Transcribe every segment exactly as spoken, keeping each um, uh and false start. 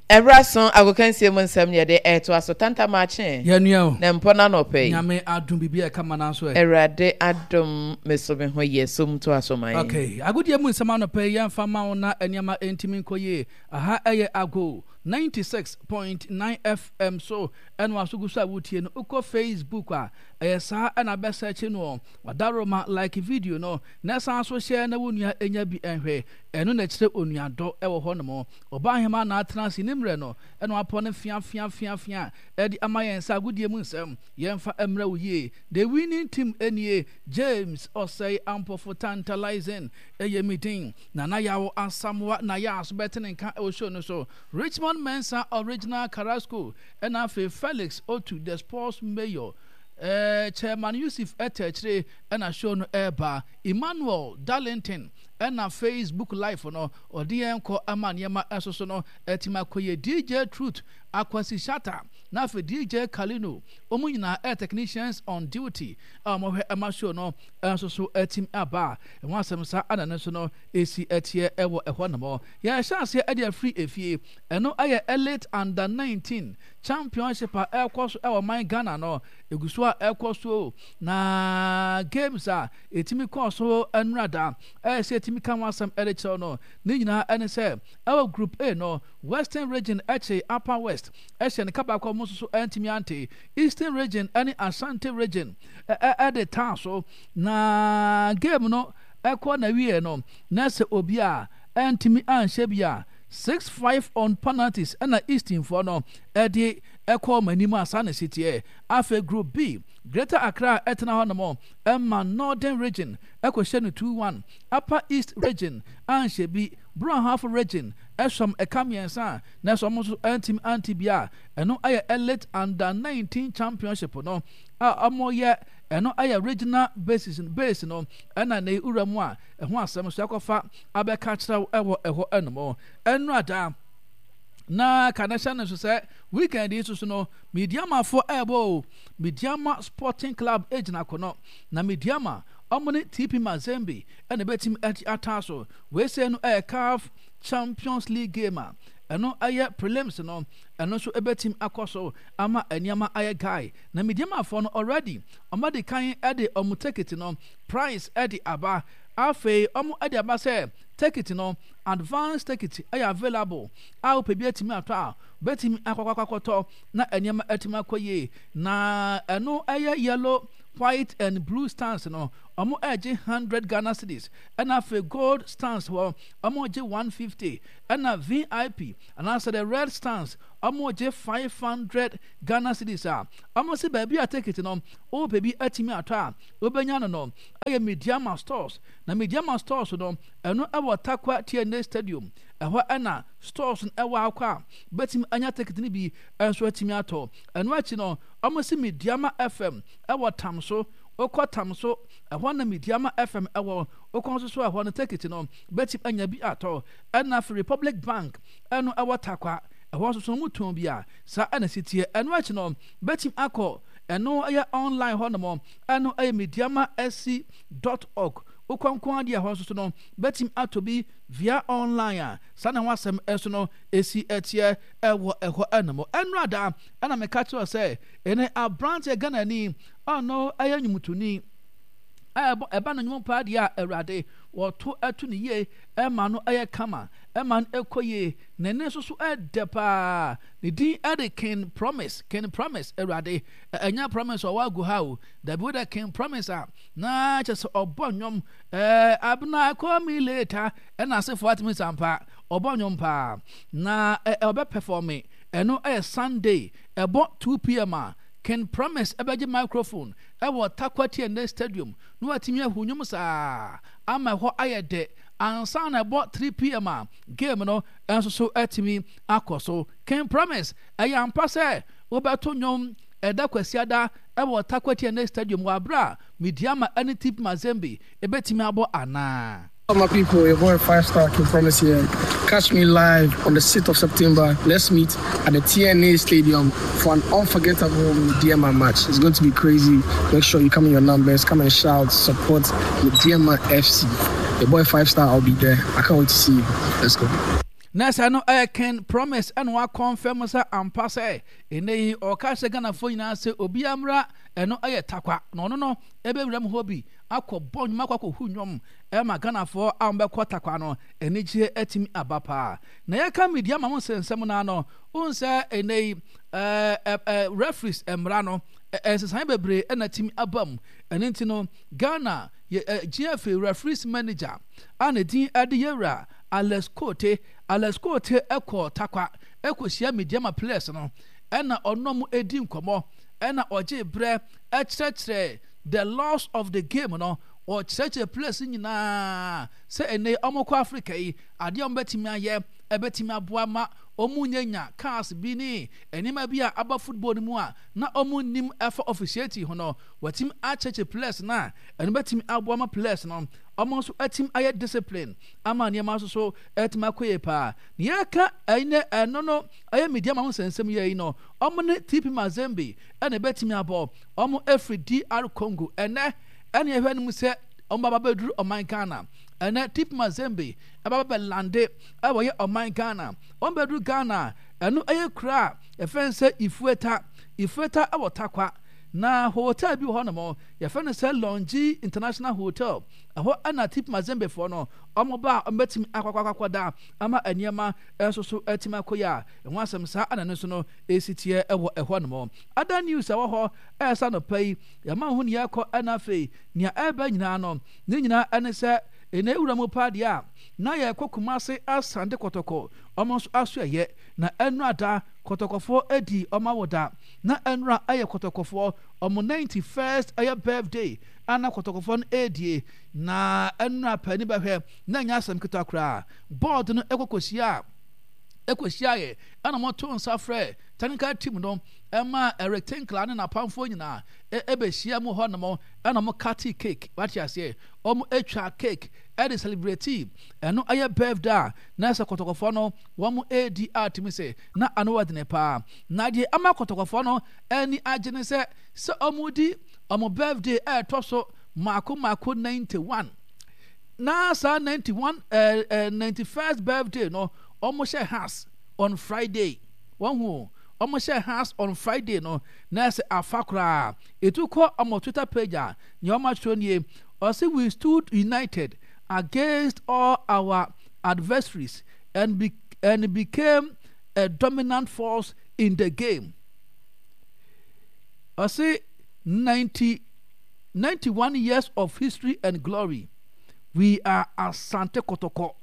Ɛberɛ so agokansie mu nsɛm yɛde ɛtoa so tantamakye. Yɛnua o. Na mpɔ no anɔpɛ yi. Nyame adom biribi a ɛka ma no nso ɛ. Awurade adom me so me ho yɛ so mu to aso ma yɛn. Okay, agodie mu nsɛm anɔpɛ yi yɛmfa ma wo na nneɛma ntumi nkɔ yie. Aha ɛyɛ Ago ninety-six point nine F M so ɛna waso gu so a wotie no. Wokɔ Facebook a, ɛyɛ saa ɛna bɛsɛkye no. Wadaroma like video no na ɛsan so hyɛ na wo nua ɛnya bi ɛnhwɛ. Ɛno na ɛkyerɛ onuadɔ ɛwɔ hɔ nom. Ɔbaa ahema na atena ase ne mmerɛ no ɛna wapɔ no fia fia fia fia ɛde ama yɛn sɛ agodie mu nsɛm yɛmfa mmerɛ wo yie. The winning team nie: James Ɔsɛe Ampɔfo Tantalizing ɛyɛ mi din. Nana Yawo Asamoa na yɛ aso bɛte ne nka ɛwɔ show no so. Richmond Mensa Original Carrasco ɛna afei Felix Otu the sports mayor, ɛɛ Chairman Yusuf ɛtɛ akyire ɛna show no ɛɛba. Emmanuel Darlington ɛna Facebook Live no ɔde yɛn kɔ ama nneɛma ɛso so no ɛtumi akɔyɛ. D J Truth Akwasi Shata na afei D J Kalino, wɔn nyinaa ɛyɛ technicians on duty a wɔhwɛ ɛma show no ɛnso so ɛtumi aba. Ɛho asɛm sa ɛna ne nso no esi ɛteɛ ɛwɔ ɛhɔ nom. Yɛhyɛ aseɛ ɛde afiri efie. Ɛno ɛyɛ Elite Under nineteen Championship a ɛrekɔ so ɛwɔ man Ghana no. Egu so a ɛrekɔ so na games a ɛtumi kɔɔ so nnurada ɛyɛ sɛ ɛtumi ka ho asɛm ɛde kyerɛw no ne nyinaa ɛne sɛ ɛwɔ Group A no, Western Region ɛkye Upper West ɛhyɛ ne kabaako a wɔn nso so ɛntumi ante. Eastern Region ɛne Ashanti Region ɛde taa so na game no ɛkɔ na wie no na sɛ obi a ɛntumi anhyɛ bi a, six five on penalties ɛna Easternfoɔ no ɛde ɛkɔ wɔn anim a saa na ɛsi teɛ. Afei Group B, Greater Accra ɛtena hɔ nom ɛma Northern Region ɛkɔhyɛ no two one. Upper East Region anhyɛ bi. Brong Region ɛsɔm ɛka mmiɛnsa a na ɛsɛ ɔmo nso ɛntumi ante bi a ɛno ɛyɛ Elite Under nineteen Championship no a ɔmo yɛ. Ɛno ɛyɛ regional basis base no ɛna ne wura mu a ɛho asɛm so akɔfa abɛka kyerɛw ɛwɔ ɛhɔ ɛnom. Ɛno ada na ka na hyɛ no nso sɛ weekend yi soso no, Medeamafoɔ ɛɛbɔ o. Medeama Sporting Club gyina kono na Medeama ɔmo ne T P Mazembe ɛna ɛbɛtumi ɛde ataa so. Weesei no ɛyɛ CAF Champions League game a ɛno ɛyɛ prelims no. Ɛno nso ɛbɛtumi akɔ so ama nneɛma ayɛ guy na Medeamafoɔ no already ɔmo de kan ɛde ɔmo ticket no price ɛde aba. Afei ɔmo ɛde aba sɛ ticket no, advance ticket ɛyɛ available a wopɛ bi atumi atɔ a bɛtumi akɔkɔakɔtɔ na nneɛma atumi akɔ yie. Na ɛno ɛyɛ yellow, white and blue stands no, ɔmo ɛgye hundred Ghana cedis, ɛna afei gold stands hɔ ɔmo gye one fifty, ɛna V I P anaasɛ the red stands ɔmo gye five hundred Ghana cedis a ɔmo si baabi a ticket no wopɛ bi atumi atɔ a wobɛnya no no ɛyɛ Medeama Stores. Na Medeama Stores no, ɛno ɛwɔ Tarkwa T N A Stadium ɛhɔ ɛna stores no ɛwɔ akɔ a bɛtumi anya ticket no bi ɛnso atumi atɔ. Ɛno akyi no, ɔmo si Medeama F M ɛwɔ Tam so. Wokɔ Tam so, ɛhɔ na Medeama F M ɛwɔ. Wokɔ nso so ɛhɔ no ticket no bɛtumi anya bi atɔ. Ɛna afei Republic Bank ɛno ɛwɔ Tarkwa, ɛhɔ nso so ɔmo tɔn bi a saa ɛna si tie. Ɛno akyi no, bɛtumi akɔ ɛno ɛyɛ online hɔ nom, ɛno ɛyɛ medeama S C dot org. Wokɔ nko adeɛ ɛhɔ nso so no bɛtumi atɔ bi via online a saa na ho asɛm ɛso no esi ɛteɛ ɛwɔ ɛhɔ ɛnom. Ɛno ada ɛna meka kyerɛ sɛ ɛne aberanteɛ Ghanani ɔno ɛyɛ nnwomtoni a ɛba no nnwom paa deɛ a Awurade wɔto ɛto ne yie ɛma no ɛyɛ kama, ɛma no ɛkɔ yie. Ne ne nso so ɛdɛ paa. Ne din ɛde King Promise. King Promise, Awurade, ɛnyɛ Promise ɔwɔ agu ha o, dabi, wo dɛ King Promise a na kyɛ sɛ ɔbɔ nnwom ɛɛ abena call me later ɛna asefoɔ atumi sampa ɔbɔ nnwom paa na ɛ ɔbɛ perform. Ɛno ɛyɛ Sunday ɛbɔ two p m a King Promise ɛbɛgye microphone ɛwɔ Tarkwa T N A Stadium na watumi ahu nnwom saa ama ɛhɔ ayɛ dɛ ansa na ɛbɔ three p m a game no nso so atumi akɔ so. King Promise, ɛyɛ ampa sɛ wobɛto nnwom ɛda Kwasiada ɛwɔ Tarkwa T N A Stadium wɔ abere a Medeama ɛne T P Mazembe ɛbɛtumi abɔ anaa? My people, your boy Five Star King Promise here. Catch me live on the sixth of September. Let's meet at the T N A Stadium for an unforgettable Medeama match. It's going to be crazy. Make sure you come in your numbers, come and shout, support Medeama F C. Your boy Five Star, I'll be there. I can't wait to see you. Let's go. Na sɛ no ɛyɛ King Promise ɛna wakɔnfɛm sɛ ampa sɛ ɛnɛ yi ɔka hyɛ Ghanafoɔ nyinaa sɛ obiara mmra, ɛno ɛyɛ Takwa na ɔno no ɛbɛwura mu hɔ bi akɔ bɔ nnwom, akɔ akɔhu nnwom ɛma Ghanafoɔ a wɔbɛkɔ Takwa no anigyeɛ atumi aba paa. Na yɛka media ma ho nsɛnsɛm no ano wohu sɛ ɛnɛ yi ɛɛ ɛɛ referees mmara no nsesan bebree ɛna atumi aba mu. Ɛno nti no Ghana yɛ ɛ G F A referees manager a ne din ɛde yɛwura Alex Kotey. Alex Kotey ɛkɔ Takwa ɛkɔhyia Medeama players no, ɛna ɔno mo edi nkɔmɔ, ɛna ɔgye brɛ ɛkyerɛkyerɛ the laws of the game no. Ɔkyerɛkyerɛ players nyinaa sɛ ɛnɛ ɔmo kɔ Africa yi, adeɛ a ɔmo bɛtumi ayɛ ɛbɛtumi aboa ma ɔmo nyanya cars bi ne nneɛma bi a aba football no mu a na ɔmo nim ɛfa officiating ho no. Wɔtumi akyerɛkyerɛ players no a ɛno bɛtumi aboa ma players no ɔmo nso atumi ayɛ discipline ama nneɛma nso so ɛtumi akɔ yie paa. Na yɛka ɛnɛ ɛno no ɛyɛ Medeama ho nsɛnsɛm yɛ yi no, ɔmo ne T P Mazembe ɛna ɛbɛtumi abɔ. Ɔmo efiri D R Congo. Ɛnɛ ɛna yɛhwɛ no mu sɛ ɔmo baba bɛduru ɔman Ghana. Ɛnɛ T P Mazembe ɛbaba bɛlande ɛwɔ yɛ ɔman Ghana. Ɔmo bɛduru Ghana, ɛno ɛyɛ kura a yɛfɛn sɛ Ifueta. Ifueta ɛwɔ Takwa, na hotel bi wɔ hɔnom yɛfrɛ no sɛ Longi International Hotel. Ɛhɔ ɛna T P Mazembe foɔ no ɔmo ba a ɔmo bɛtumi akɔkɔakɔda ama nneɛma nso so atumi akɔ yi a ɛho asɛm saa ɛna no nso no esi teɛ ɛwɔ ɛhɔ nom. Other news a ɛwɔ hɔ ɛɛsa nɔpa yi yɛma ho nea ɛkɔ, ɛna afei nea ɛreba nyinaa no ne nyinaa ɛne sɛ ɛna ewura mu paa deɛ a na yɛkɔ Kumase Asante Kɔtɔkɔ ɔmo nso aso ɛyɛ na ɛnura da Kɔtɔkɔfoɔ adi ɔmo awoda, na ɛnura ɛyɛ Kɔtɔkɔfoɔ ɔmo ninety first ɛyɛ birthday ana Kɔtɔkɔfoɔ no ɛredie. Na ɛnura paani bɛhwɛ na ɛnyɛ asɛm ketewa koraa. Board no ɛkɔkɔhyia a ɛkɔhyia yɛ ɛna wɔto nsa frɛ technical team no ɛma Eric Tinkler ne n'apamfoɔ nyinaa ɛbɛhyia mu hɔ nom, ɛna wɔn cut cake. Wate aseɛ, wɔn atwa cake ɛde celebrate. Ɛno ɛyɛ birthday a na ɛsɛ Kɔtɔkɔfoɔ no wɔn ɛredi a tumi sɛ na ano wɔ dene paa. Na deɛ ama Kɔtɔkɔfoɔ no ani agye ne sɛ sɛ wɔn di wɔn birthday ɛɛtɔ so mako mako ninety one, na saa ninety one ɛɛ ɛɛ ninety first birthday no wɔn hyɛ Hearts on Friday. Wɔn ho wɔn hyɛ Hearts on Friday no na ɛsɛ afa koraa. Etu kɔ wɔn Twitter page a, nea wɔn atwerɛ nie, ɔsi, "We stood united against all our adversaries and be and became a dominant force in the game." Ɔsi, ninety ninety one years of history and glory. We are Asante Kotoko."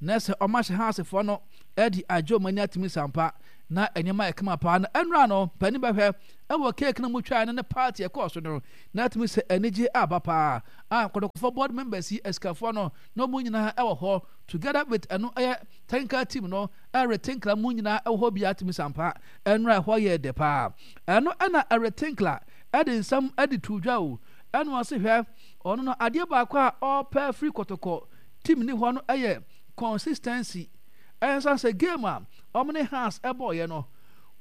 Na sɛ ɔmo ahyɛ Heartsfoɔ no ɛde agye ɔmo ani atumi sampa na nneɛma yɛ kama paa. Na ɛnura no panin bɛhwɛ ɛwɔ cake no mu twa no ne party ɛkɔɔ so no na atumi sɛ anigye aba paa a Kɔtɔkɔfoɔ board members yi, asikafoɔ no na ɔmo nyinaa ɛwɔ hɔ together with ɛno ɛyɛ technical team no, Eric Tinkler mu nyinaa ɛwɔ hɔ bi atumi sampa. Ɛnura ɛhɔ yɛ dɛ paa. Ɛno ɛna Eric Tinkler ɛde nsɛm ɛde to dwa o, ɛna ɔse hwɛ, ɔno no adeɛ baako a ɔpɛ firi Kɔtɔkɔ team ne hɔ no ɛyɛ consistency. Ɛnsa sɛ game a ɔmo ne Hearts ɛbɔɔyɛ no,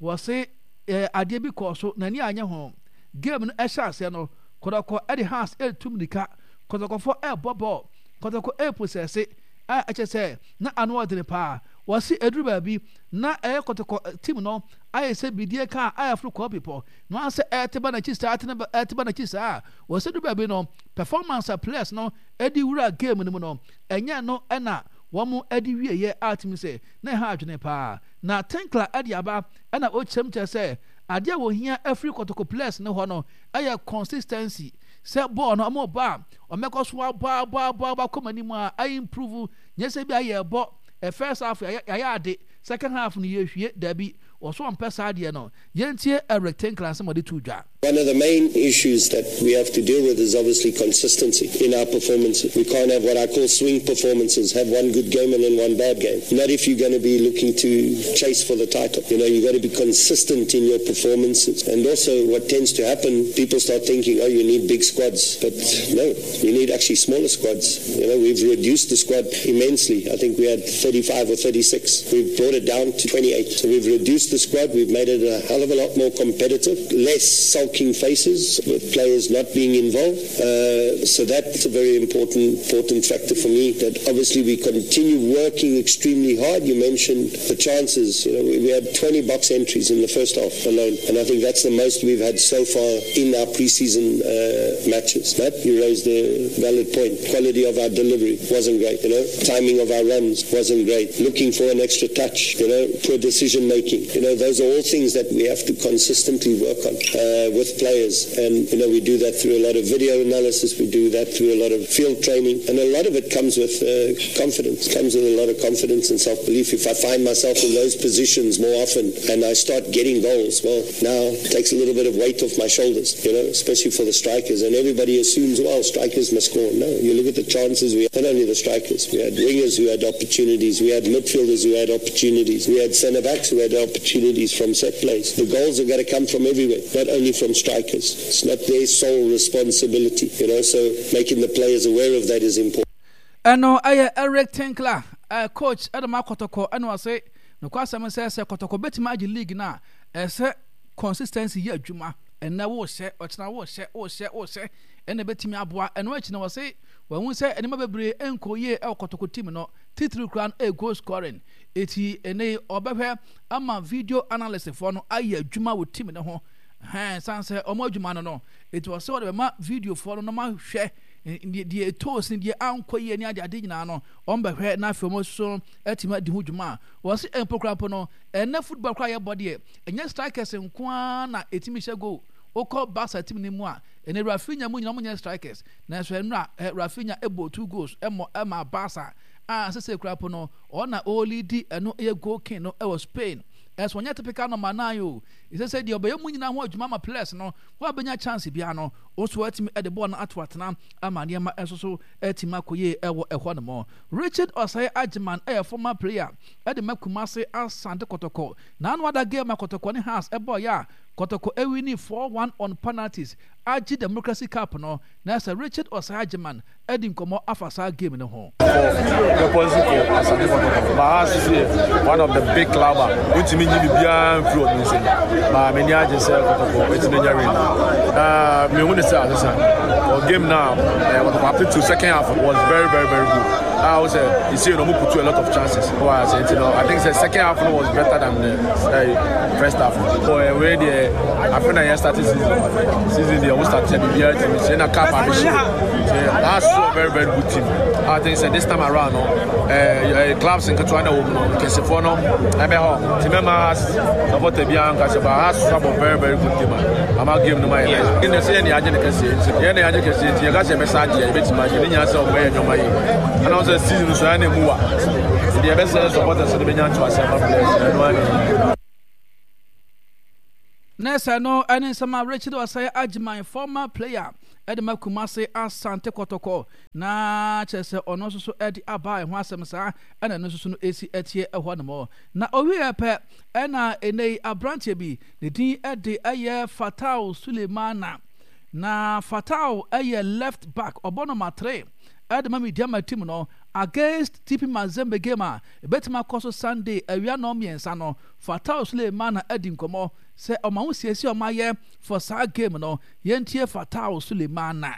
wɔse ɛɛ adeɛ bi kɔɔ so n'ani anyɛ ho. Game no ɛhyɛ aseɛ no, Kɔtɔkɔ ɛde Hearts ɛretu mirika, Kɔtɔkɔfoɔ ɛrebɔ bɔɔl, Kɔtɔkɔ ɛrepossess a ɛkyɛ sɛ na ano ɔdene paa. Wɔse eduru baabi na ɛyɛ Kɔtɔkɔ team no ayɛ sɛ bidie kaa a ɛforo kɔɔ bepɔ na wɔn sɛ ɛte ba n'akyi saa, ɛte ba n'akyi saa. Wɔse duru baabi no, performance a players no ɛde wura game no mu no, ɛnyɛ no ɛna wɔn ɛde wieɛ a tumi sɛ na ɛha adwene paa. Na Tinkler ɛde aba ɛna ɔkyerɛm kyerɛ sɛ adeɛ a wɔhia afiri Kɔtɔkɔ players no hɔ no ɛyɛ consistency, sɛ bɔɔl no ɔmo ba a ɔmɛkɔ so abɔ abɔ abɔ abɔ akɔ anim a ayi improve, nyɛ sɛ bi a yɛbɔ ɛ first half yɛayɛ ade, second half no yɛhwie. Dabi, wɔso ɔmpɛ saa adeɛ no. Yɛntie Eric Tinkler nsɛm ɔde to dwa. One of the main issues that we have to deal with is obviously consistency in our performances. We can't have what I call swing performances, have one good game and then one bad game. Not if you're going to be looking to chase for the title. You know, you've got to be consistent in your performances. And also what tends to happen, people start thinking, "Oh, you need big squads." But no, you need actually smaller squads. You know, we've reduced the squad immensely. I think we had thirty-five or thirty-six. We've brought it down to twenty-eight. So we've reduced the the squad. We've made it a hell of a lot more competitive, less sulking faces with players not being involved. Uh, so that's a very important important factor for me. That obviously we continue working extremely hard. You mentioned the chances. You know, we, we had twenty box entries in the first half alone, and I think that's the most we've had so far in our preseason uh, matches. But you raised a valid point. Quality of our delivery wasn't great. You know, timing of our runs wasn't great. Looking for an extra touch. You know, poor decision making. You know, those are all things that we have to consistently work on uh, with players, and you know, we do that through a lot of video analysis. We do that through a lot of field training, and a lot of it comes with uh, confidence. Comes with a lot of confidence and self-belief. If I find myself in those positions more often and I start getting goals, well, now it takes a little bit of weight off my shoulders, you know, especially for the strikers. And everybody assumes, well, strikers must score. No, you look at the chances we had, not only the strikers, we had wingers who had opportunities, we had midfielders who had opportunities, we had centre-backs who had opportunities from set plays. The goals have got to come from everywhere, not only from strikers. It's not their sole responsibility, you know, so making the players aware of that is important. Ɛno ɛyɛ Eric Tinkler, uh, coach ɛde ma Kɔtɔkɔ. Ɛna ɔse nokwasɛm sɛ sɛ Kɔtɔkɔ bɛtumi agye league no a, ɛsɛ consistency yɛ adwuma. Ɛnɛ wohyɛ, ɔkyena wohyɛ, wohyɛ, wohyɛ, ɛna bɛtumi aboa. Ɛno akyi no, wɔse wɔn sɛ nneɛma bebree nkɔ yie ɛwɔ Kɔtɔkɔ team no, titiri kura no ɛyɛ goal scoring. Eti ɛnɛ ɔbɛhwɛ ama video analyst foɔ no ayɛ adwuma wɔ team no ho hɛn san sɛ ɔmo adwuma no no Eti wɔsɛ wɔde bɛma video foɔ no na ɔmo ahwɛ deɛ ɛtɔɔ sin, deɛ ankɔ yie ne ade ade nyinaa no, ɔmo bɛhwɛ na afei ɔmo nso atumi adi ho dwuma a wɔsi mpo kora mpo no. Ɛnɛ football kora yɛbɔ deɛ, ɛnyɛ strikers nko ara na ɛtumi hyɛ goal. Wokɔ Barca team no mu a, ɛnɛ Raphinha mu nyinaa ɔmo nyɛ strikers, nanso ɛnura ɛ Raphinha ɛbɔ two goals ɛmɔ ɛma Barca a sese kora mpo no ɔna ɔlead ɛno ɛyɛ goal king no ɛwɔ Spain. Ɛso ɔnyɛ typical number nine o. Ɛsɛ sɛ deɛ ɔbɛyɛ mu nyinaa ho adwuma ma players no wɔn abɛnya chance biara no, nso atumi ɛde bɔɔl no ato atena ama nneɛma nso so atumi akɔ yie ɛwɔ ɛhɔ nom. Richard Osei Agyeman ɛyɛ former player ɛde ma Kumase Asante Kɔtɔkɔ. N'ano ada game a Kɔtɔkɔ ne Hearts ɛbɔɔ yɛ a Kɔtɔkɔ ɛwin four one on penalties agye Democracy Cup no, na sɛ Richard Osei Agyeman ɛdi nkɔmɔ afa saa game no ho. Purposely for Asante Kɔtɔkɔ, but Hearts is one of the big club a wontumi nyi biribiara mfiri ɔmo nsam. Ba m'ani agye sɛ Kɔtɔkɔ etumi anya win na mehu ne sɛ asesa for game now. uh, Kɔtɔkɔ up to second half was very, very, very good. A wo sɛ esi no ɔmo put a lot of chances wɔ ase, nti no I think sɛ second half no was better than the uh, first half. Ɔ wei deɛ, afei na yɛn start season season deɛ ɔmo start yɛ biribiara tumi sɛ na cup abɛhyɛ. That's a very, very good team. I think sɛ this time around no, uh, clubs nketewa na wɔ mu no, nkɛsefoɔ no ɛbɛ hɔ nti mɛma supporter biara nka sɛ ba Hearts abɔ very, very good team a ama game no ma yɛ nice. Ɛnna sɛ yɛn de agye ne kɛseɛ nti yɛn de agye kɛseɛ nti yɛka sɛ yɛbɛsa agye a, yɛbɛtumi agye ne nyinaa sɛ ɔmo yɛ nneɛma yie. Ɛna wɔn sɛ season no so ɛna emu wa deɛ yɛbɛsɛ supporters no bɛnya ntoaseɛ ama players ɛno ani. Na sɛ no ɛne nsɛm a Richard Osei Agyeman, former player ɛde ma Kumase Asante Kɔtɔkɔ, na kyerɛ sɛ ɔno nso so ɛde aba ɛho asɛm saa ɛna ɛno nso so no esi ɛteɛ ɛhɔ nom. Na owie pɛ ɛna ɛnɛ yi aberanteɛ bi ne din ɛde ɛyɛ Fatao Sulemana. Na Fatao ɛyɛ left back, ɔbɔ number three ɛde ma Medeama team no against T P Mazembe, game a ebɛtumi akɔ so Sunday awia nɔɔ mmiɛnsa no. Fatao Sulemana adi nkɔmɔ sɛ ɔma ho siesie ɔma yɛ for saa game no. Yɛntie Fatao Sulemana.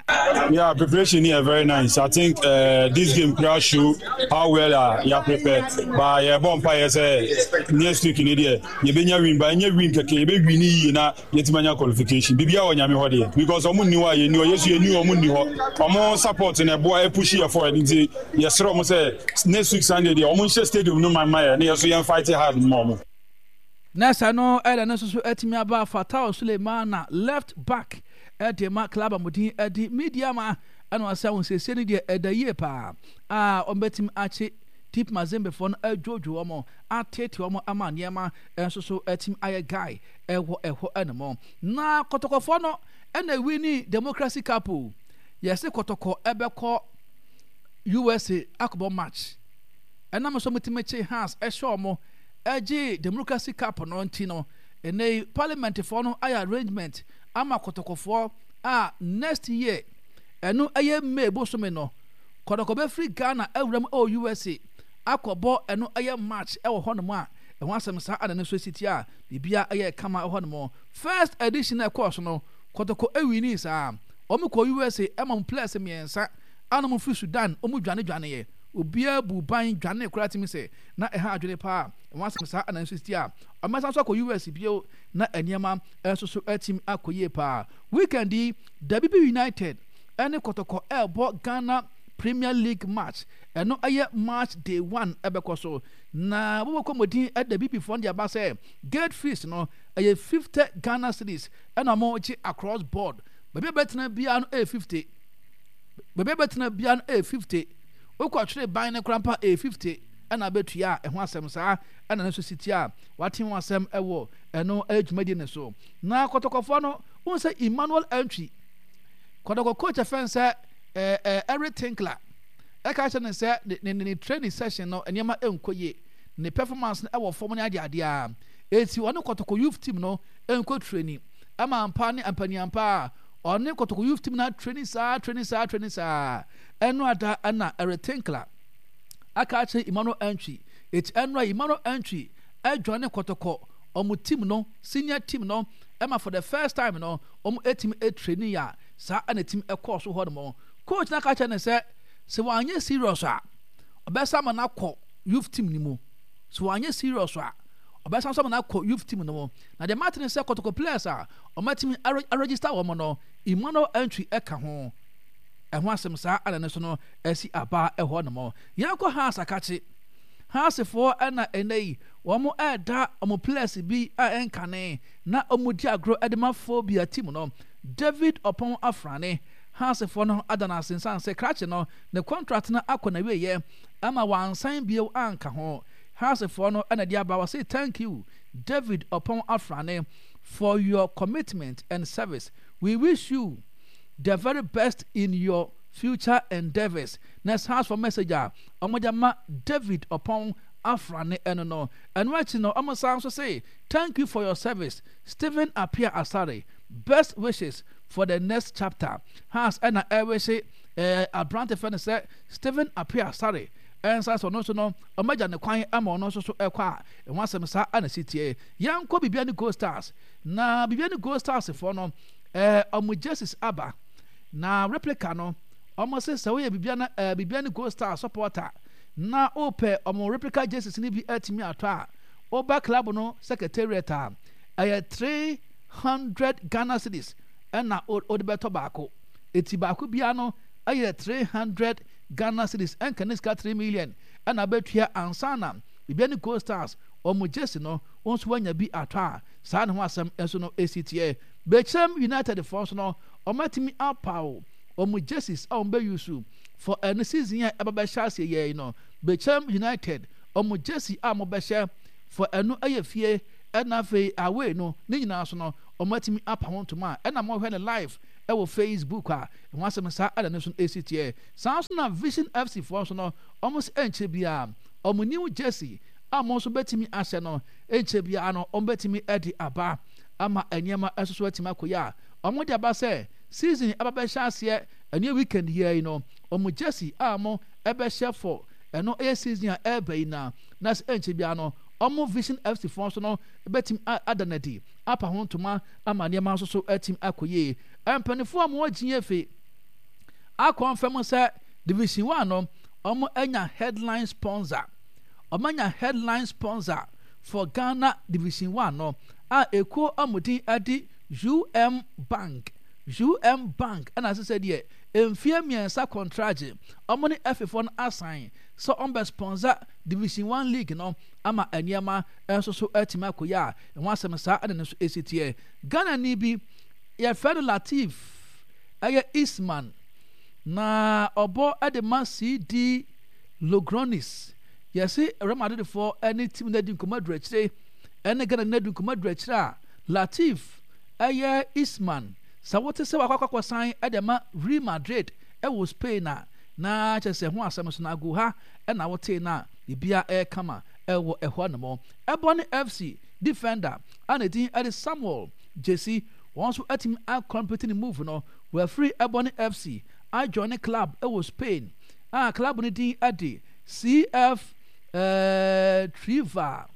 Yeah, preparation here very nice. I think uh, this game could show how well uh, you are prepared. But yeah, bomb sɛ next week ni deɛ yɛbɛnya win, but ɛnyɛ win kɛkɛ, yɛbɛ win yie na yɛtumi anya qualification. Biribi a wɔ Nyame hɔ deɛ, because ɔmo nni hɔ a yɛnni hɔ, yɛsu yɛnni hɔ, ɔmo nni hɔ. Ɔmo support na ɛboa ɛpush yɛ forward, nti yɛsrɛ ɔmo sɛ next week Sunday deɛ, ɔmo nhyɛ stadium no ma ma yɛ na yɛso yɛn fight hard ma ɔmo. Na sɛ no ɛna no nso so atumi aba. Fatao Sulemana, left back ɛde ma club a mo din ɛde Medeama, ɛna ɔsɛ ahosiesie no deɛ ɛda yie paa a ɔmbɛtumi akye T P Mazembefoɔ no, adwodwo wɔn, atete wɔn ama nneɛma nso so atumi ayɛ guy ɛwɔ ɛhɔ ɛnom. Na Kɔtɔkɔfoɔ no ɛna win Democracy Cup o. Yɛsɛ Kɔtɔkɔ ɛbɛkɔ U S A akɔbɔ match, ɛnam nso motumi kye Hearts ɛhyɛ wɔn ɛgye Democracy Cup no nti no, ɛnɛ yi parliamentfoɔ no ayɛ arrangement ama Kɔtɔkɔfoɔ a next year, ɛno ɛyɛ May bosome no, Kɔtɔkɔ bɛfiri Ghana awura mu ɛwɔ U S A akɔbɔ ɛno ɛyɛ match ɛwɔ hɔnom a Ɛho asɛm saa ana ne nso si tie a biribia ɛyɛ kama ɛhɔ nom. First edition a ɛkɔɔ so no, Kɔtɔkɔ ɛwini saa. Wɔn kɔ U S A ɛma mo players mmiɛnsa ana mo firi Sudan, wɔn dwane dwaneɛ. Obiara bu ban dwane koraa tumi sɛ na ɛha adwene paa. Ɛho asɛm saa ana nso si tie a ɔmɛsan so akɔ U S bio na nneɛma nso so atumi akɔ yie paa. Weekend yi, Dabibi United ɛne Kɔtɔkɔ ɛrebɔ Ghana Premier League match. Ɛno ɛyɛ match day one ɛbɛkɔ so na wɔbɛkɔ mmɔden. Ɛda bibifoɔ de aba sɛ gate fees no ɛyɛ fifty Ghana cedis ɛna wɔn gye across board. Baabi a bɛtena biara no ɛyɛ fifty, baabi a bɛtena biara no ɛyɛ fifty. Wokɔ atwere ban no koraa mpa ɛyɛ fifty ɛna abɛtua a ɛho asɛm saa ɛna no nso si tia a wate ho asɛm ɛwɔ ɛno ɛyɛ dwumadie ne so. Na Kɔtɔkɔfoɔ no wɔn sɛ Emmanuel Antwi, Kɔtɔkɔ coach ɛfɛn sɛ ɛɛ ɛɛ Eric Tinkler ɛka kyerɛ ne sɛ ne ne ne training session no nneɛma ɛnkɔ yie, ne performance no ɛwɔ fam ne adeadeɛ a eti ɔne Kɔtɔkɔ youth team no ɛnkɔ training ɛma mpa ne mpanyinampa a ɔne Kɔtɔkɔ youth team na training saa, training saa, training saa. Ɛno ada ɛna Eric Tinkler aka akyerɛ Emmanuel Antwi. Eti ɛno a Emmanuel Antwi ɛjoin Kɔtɔkɔ ɔmo team no, senior team no, ɛma for the first time no ɔmo etimi etraining a saa ɛna team ɛkɔɔ so hɔ nom. Coach na aka kyerɛ ne sɛ sɛ wanyɛ serious a, ɔbɛsa ama no akɔ youth team no mu. Sɛ wanyɛ serious a, ɔbɛsan so ama no akɔ youth team no mu. Na deɛ mate ne sɛ Kɔtɔkɔ players a ɔmatumi aregister wɔn no, Emmanuel Antwi ɛka ho. Ɛho asɛm saa ɛna ne so no asi aba ɛhɔ nom. Yɛnkɔ Hearts akakye. Heartsfoɔ ɛna ɛnɛ yi wɔn ɛɛda wɔn players bi a ɛnkane na wɔn di agorɔ ɛde ma Phobia team no, David Ɔpɔn Afrane. Heartsfoɔ no ada no ase nsan sɛ krakye no ne contract no akɔ n'awieɛ ama wansan bio anka ho. Heartsfoɔ no ɛna de aba wɔse, "Thank you, David Ɔpɔn Afrane, for your commitment and service. We wish you the very best in your future endeavours." Na Heartsfoɔ message a wɔde ama David Ɔpɔn Afrane ɛno no. Ɛno akyi no, wɔn san nso say, "Thank you for your service, Stephen Appiah Asare. Best wishes for the next chapter." Hearts ɛna ɛwehye ɛɛ aberante fɛ no sɛ Stephen Appiah Asare ɛnsa sɛ ɔno nso no ɔmagya ne kwan ama ɔno nso so ɛkɔ a ɛho asɛm saa ɛna si tie. Yɛnkɔ Bibiani Gold Stars na Bibiani Gold Stars foɔ no ɛɛ ɔmo jerseys aba na replica no. Ɔmo sɛ sɛ woyɛ Bibiani ɛɛ Bibiani Gold Stars supporter na wopɛ ɔmo replica jerseys no bi atumi atɔ a, woba club no secretariat a, ɛyɛ three hundred Ghana cedis ɛna wode bɛtɔ baako. Eti baako biara no ɛyɛ three hundred Ghana cedis, ɛnka ne sika three million ɛna abɛtua ansa na Bibiani Gold Stars ɔmo jersey no wɔn nso wanya bi atɔ a saa ne ho asɛm nso no esi teɛ. Bechem United foɔ nso no, wɔn atumi apaw wɔn jerseys a wɔn bɛ use for ɛno season a ɛba bɛhyɛ aseɛ yɛ yi no. Bechem United wɔn jersey a wɔn bɛhyɛ for ɛno ɛyɛ fie ɛna afei away no ne nyinaa so no, wɔn atumi apa ho ntoma a ɛna wɔhwɛ no live ɛwɔ Facebook a ɛho asɛm saa ɛna ne nso esi teɛ. Saa nso na Vision F C foɔ nso no, wɔn nso ɛnkyɛ biara wɔn new jersey a wɔn nso bɛtumi ahyɛ no, ɛnkyɛ biara no wɔn bɛtumi ɛde aba ama nneɛma nso so atumi akɔ yi a wɔn de aba sɛ season ɛba bɛhyɛ aseɛ ɛne weekend yɛ yi no, wɔn jersey a wɔn ɛbɛhyɛ for ɛno ɛyɛ season a ɛreba yi na na sɛ ɛnkyɛ biara no wɔn Vision F C foɔ nso no bɛtumi ada n'adi apa ho ntoma ama nneɛma nso so atumi akɔ yie. Mpanimfoɔ a wɔn akyi efe akɔnfɛm sɛ Division One no wɔn anya headline sponsor. Wɔn anya headline sponsor for Ghana Division One no a ekuo a wɔn din de U M Bank. U M Bank ɛna asesɛ deɛ mfie mmiɛnsa contract wɔn ne ɛfefoɔ no asan sɛ wɔn bɛ sponsor Division One league no ama nneɛma nso so atumi akɔ yie a ɛho asɛm saa ɛna ne nso esi teɛ. Ghana ni bi yɛfrɛ no Latif ɛyɛ Isman na ɔbɔ ɛde ma C D Logrones. Yɛsi Real Madrid foɔ ɛne team no adi nkɔmɔ aduru akyire, ɛne Ghana no adi nkɔmɔ aduru akyire a Latif ɛyɛ Isman sɛ wote sɛ wakɔ akɔsan ɛde ma Real Madrid ɛwɔ Spain a na kyerɛ sɛ ho asɛm so na agu ha ɛna wote na biribiara ɛyɛ kama ɛwɔ ɛhɔ nom. Ɛbɔ ne F C defender a ne din ɛde Samuel Jesi, wɔn nso atumi acomplete ne move no. Wɔafiri ɛbɔ ne F C ajoin ne club ɛwɔ Spain a club no din ɛde C F ɛɛ Triva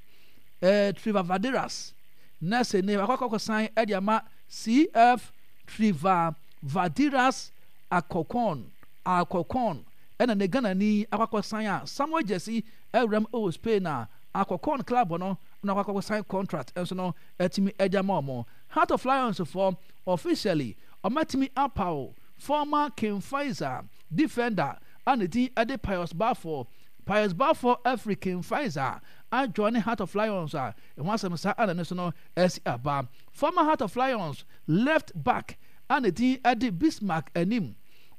eh, Trivavaderas na sɛ ne akɔkɔkɔ san de ama C F Trivavadiras Alcorcon. Alcorcon ɛna ne Ghanani akɔkɔ san a Samuel Jesse awuram wɔ Spain a Alcorcon club no na akɔkɔ sign contract nso no atumi de ama wɔn. Heart of Lions foɔ officially ɔmatumi apaw former King Faisal defender a ne din de Pius Bafo. Pius Bafo afiri King Faisal ajoin Heart of Lions a ɛho asɛm saa ana ne so no asi aba. Former Heart of Lions left back a ne din de Bismarck Anim,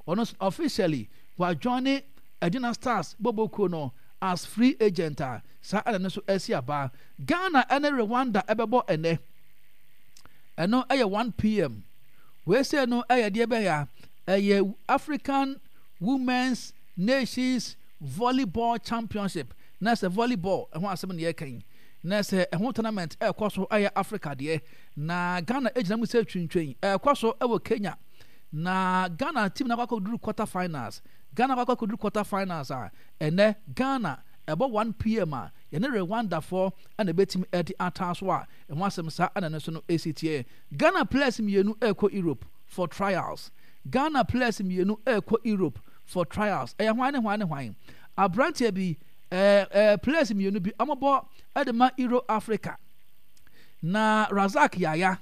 ɔno nso officially wajoin Adina Stars bobokuo no as free agent a saa ana ne so asi aba. Ghana ne Rwanda ɛbɛbɔ ɛnɛ, ɛno ɛyɛ one p m. Wei sɛ no ɛyɛ deɛ bɛyɛ a ɛyɛ African Women's Nations Volleyball Championship, na sɛ volleyball ɛho asɛm ne yɛka yi, na sɛ ɛho tournament ɛrekɔ so, ɛyɛ Africa deɛ, na Ghana gyina mu sɛ twintwan ɛrekɔ so ɛwɔ Kenya, na Ghana team na akɔ akɔduru quarter finals. Ghana akɔ akɔduru quarter finals a ɛnɛ Ghana ɛbɔ one p m a yɛne Rwandafoɔ ɛna ɛbɛtumi ɛde ataa so a ɛho asɛm saa ɛna ne so no ɛsi tie. Ghana players mmienu ɛrekɔ Europe for trials. Ghana players mmienu ɛrekɔ Europe for trials, ɛyɛ hwan ne hwan ne hwan? Aberanteɛ bi, ɛɛ ɛɛ players mmienu bi wɔbɔ ɛde ma Euro Africa, na Razak Yaya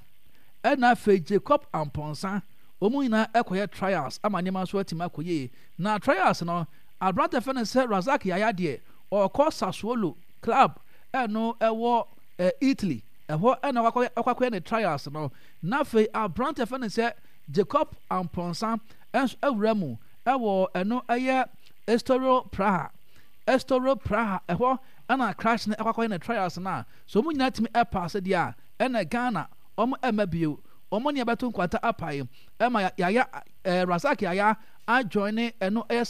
ɛna afei Jacob Amponsa, wɔn nyinaa ɛkɔyɛ trials ama nneɛma nso atumi akɔ yie. Na trials no, aberante fɛ no sɛ Razak Yaya deɛ, ɔkɔ Sassuolo club, ɛno ɛwɔ ɛ Italy, ɛhɔ ɛna ɔkɔ akɔyɛ ne trials no. Na afei aberante fɛ no sɛ Jacob Amponsa ɛnso awura mu ɛwɔ ɛno ɛyɛ Estoril Praha. Estoril Praha ɛhɔ ɛna crash no ɛkɔ akɔyɛ ne trials no a so wɔn nyinaa tumi ɛpaase deɛ a, ɛna Ghana wɔn ɛmɛ bio, wɔn ne ɛbɛto nkwanta apae ɛma Yaya, ɛɛ Razak Yaya ajoin ɛno ɛyɛ.